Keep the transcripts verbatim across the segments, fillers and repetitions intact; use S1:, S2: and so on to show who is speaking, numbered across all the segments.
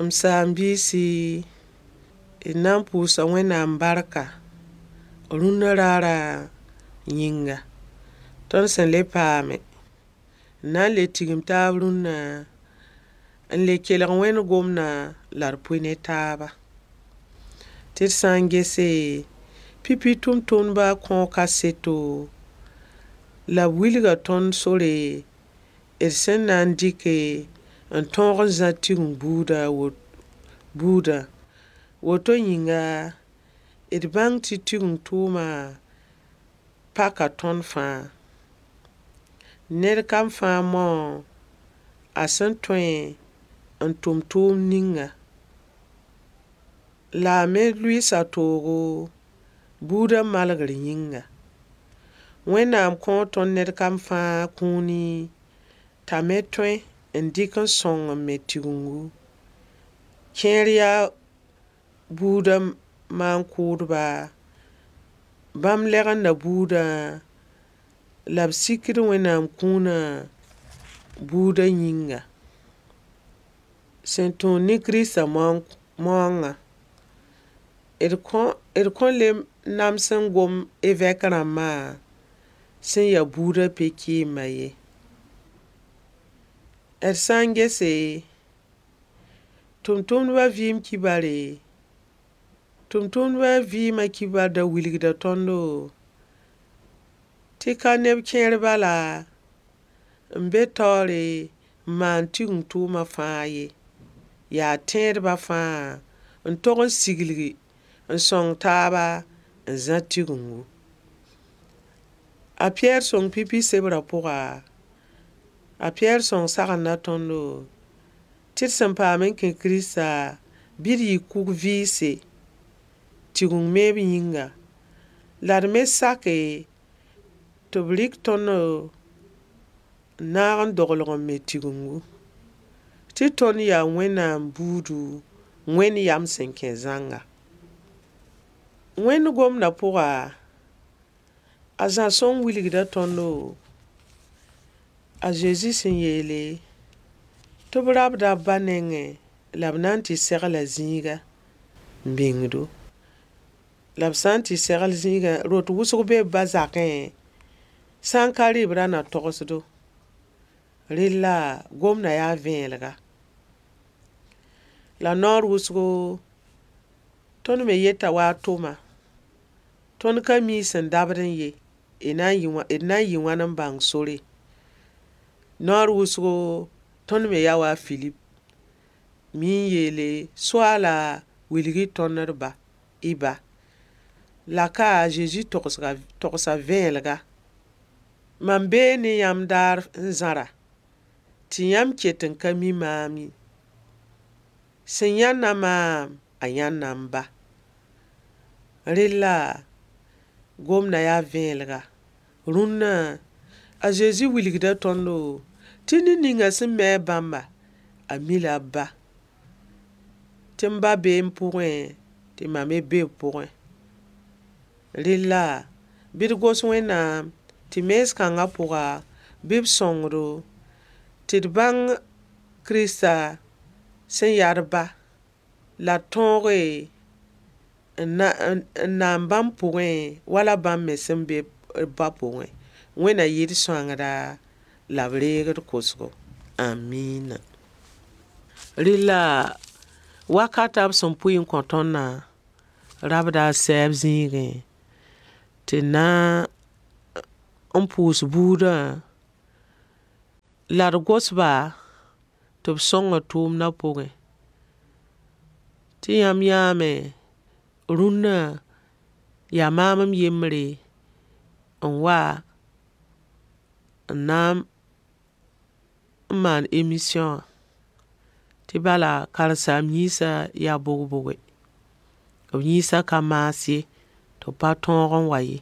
S1: M saam-biisi, d na n pʋʋsa Wẽnnaam barka rũnna raarã yĩnga. Tõnd sẽn le paame n na n le tigim taab rũnna n le kelg Wẽnd gomdã la d pʋɩ ne taaba. Tɩ d sã n gese, pipi tʋmtʋmdba kõo kaseto la b wilga tõnd sore d sẽn na n dɩke n tõog n zã Tigeng buudã buudã. Woto yĩnga, d bãng tɩ Tigeng tʋʋma paka tõnd fãa. Ned kam fãa mao a sẽn tõe n tʋm tʋʋmd ninga. La a me lʋɩɩsa toogo buudã malgr yĩnga. Wẽnnaam kõo tõnd ned kam fãa kũuni t'a me tõe n dɩk n sõng n me Tigengu. Kẽer yaa buudã maan-kʋʋdba, bãmb lɛgenda buudã la b sikd Wẽnnaam kũunã buudã yĩnga. Sẽn tõog ne Kiristã maoongã, d kõ d kõn le nams n gom evɛk rãmbã sẽn yaa buudã pe-kɩɩmbã ye. D sã n gese, tʋmtʋmdbã vɩɩm kibare, tʋmtʋmdbã vɩɩmã kibar da wilgda tõndo tɩ ka neb kẽer bala n be taoore n maan Tigeng tʋʋma fãa ye. Yaa tẽedbã fãa n tog n siglgi n sõng taaba n zã Tigengu. A Piyɛr sõng pipi sebrã pʋga, a Piyɛr sõng sagenda tõndo tɩ d sẽn paam n kẽ Kirista, bɩ d yɩ kug-vɩɩse Tigeng meeb yĩnga. La d me sake tɩ b rɩk tõnd n naag n doglg n me Tigengu. Tɩ tõnd yaa Wẽnnaam buudu, Wẽnd yam sẽn kẽ zãnga. Wẽnd gomdã pʋga, a Zã sõng wilgda tõndo a Zezi sẽn yeele tɩ b rabda b ba nengẽ la b na n tɩ segla zĩiga n bĩngdo. La b sã n tɩ segl zĩigã, rot wʋsg bee b ba zakẽ, sã n ka rɩ b ra na togsdo. Rella gomdã yaa vẽelega. La noor wʋsgo, tõnd me yeta wa a Toma, tõnd ka mi sẽn dabdẽ ye, d na n yɩ wãn n bãng sore? Noor wʋsgo, tõnd me yaa wa a Filip, mi n yeele Soaala, wilg-y tõnd d ba, y ba. La ka a Zezi togsga togsa vẽelega. Mam bee ne yãmb daar n zãra, tɩ yãmb ket n ka mi maam ye. Sẽn yãnna maam, a yãnda m ba. Rella gomdã yaa vẽelega. Rũnnã, a Zezi wilgda tõndo tɩ ned ninga sẽn mi a bãmba, a mi-la b ba. Tɩ m ba bee m pʋgẽ, tɩ mam me be b pʋgẽ. Rella, bɩ d gos Wẽnnaam tɩ mees kãngã pʋga, bɩ b sõngdo tɩ d bãng Kirista sẽn yaa d ba, la d tõoge n naan bãmb pʋgẽ wala bãmb me sẽn be b ba pʋgẽ. Wẽnna yɩ d sõangda la b reeg d kosgo. Amiina. Rella wakata b sẽn pʋɩ n kõ tõndã, rabda a sɛɛb zĩigẽ tɩ na n pʋʋs buudã la d gos-ba tɩ b sõnga tʋʋmdã pʋgẽ. Tɩ yãmb yãame, rũnnã yaa maam m yembre n wa n na n maan emisiyõ wã. Tɩ bala karen-saam-yĩnsã yaa bog-boge. B yĩnsã ka maas ye, tɩ b pa tõog n wa ye.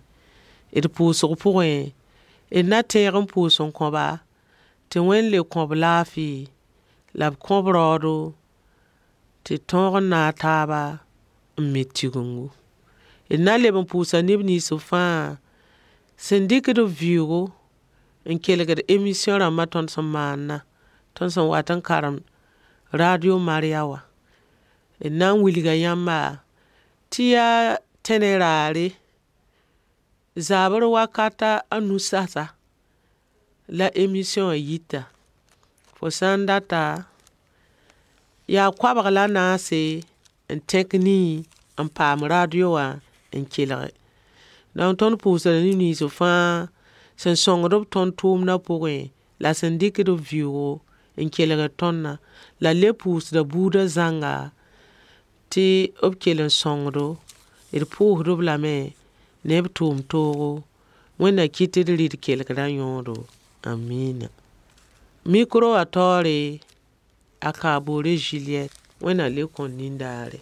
S1: D pʋʋsg pʋgẽ, d na tẽeg n pʋʋs n kõ-ba tɩ Wẽnd le kõ-b laafɩ, la b kõ-b raoodo tɩ d tõog n naag taaba n me Tigengu. D na n leb n pʋʋsa neb nins fãa sẽn dɩkd b vɩʋʋgo n kelgd emisiyõ rãmbã tõnd sẽn maannã, tõnd sẽn wat n karemd radio Mariya wã. D na n wilga yãmba tɩ yaa tẽnɛ raare, zabr wakata a nu sasa la emission wã yita. Fo sã n data, yaa koabg la naase n tẽk nii n paam radio wã n kelge. Dõnk tõnd pʋʋsda neb nins fãa sẽn sõngd-b tõnd tʋʋmdã pʋgẽ, la sẽn dɩkd b vɩʋʋgo n kelgd tõndã. La d le pʋʋsda buudã zãnga tɩ b kell n sõngdo. D pʋʋsd-b lame ne b tʋʋm-toogo. Wẽnd na kɩt tɩ d rɩ d kelgdã yõodo. Amiina. Micro wã taoore, a Kaboore Juliette. Wẽnd na le kõ nindaare.